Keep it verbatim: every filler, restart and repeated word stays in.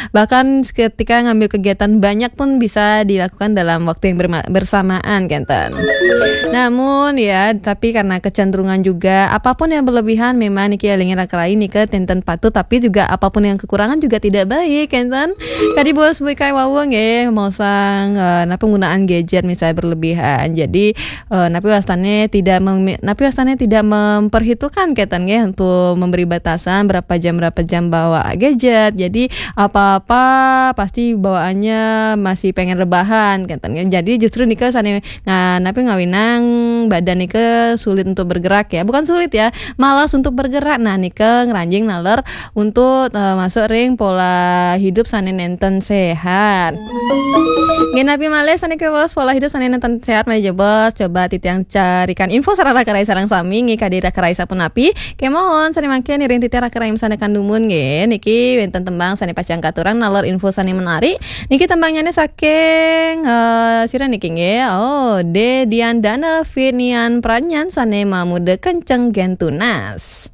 Bahkan ketika ngambil kegiatan banyak pun bisa dilakukan dalam waktu yang berma- bersamaan, kenten. Namun ya, tapi karena kecenderungan juga, apapun yang berlebihan memang niki elingin raka rai nika tenten patut, tapi juga apapun yang kekurangan juga tidak baik, kenten. Tadi bos buikai wawung ya, mau sang eh, nah, penggunaan gadget misalnya berlebihan. Jadi eh, napi wastane tidak mem- napi wastane tidak memperhitungkan, kenten, ya, untuk memberi batasan berapa jam, berapa jam bawa gadget. Jadi apa-apa pasti bawaannya masih pengen rebahan, kenten, ya. Jadi justru nika sane nga- napi ngawinang badan nika sulit untuk bergerak, ya. Bukan sulit, ya, malas untuk bergerak. Nah, nika ngranjing naler untuk eh, masuk ring pola hidup sane nenten sehat. Nggih, napi malih sane kebos pola hidup sane nenten sehat malih jebos. Coba titiang carikan info sareng raka rai sareng sami, nggih, kadi raka rai sapunapi. Kemawon sane mangkin iring titiang raka rai masandekan dumun, nggih. Niki wenten tembang sane pacang katurang naler info sane menarik. Niki tembangnyane saking eh, sira niki, nggih. Oh, De Diandana Finian Pranyan sane mamuda kenceng gen tunas.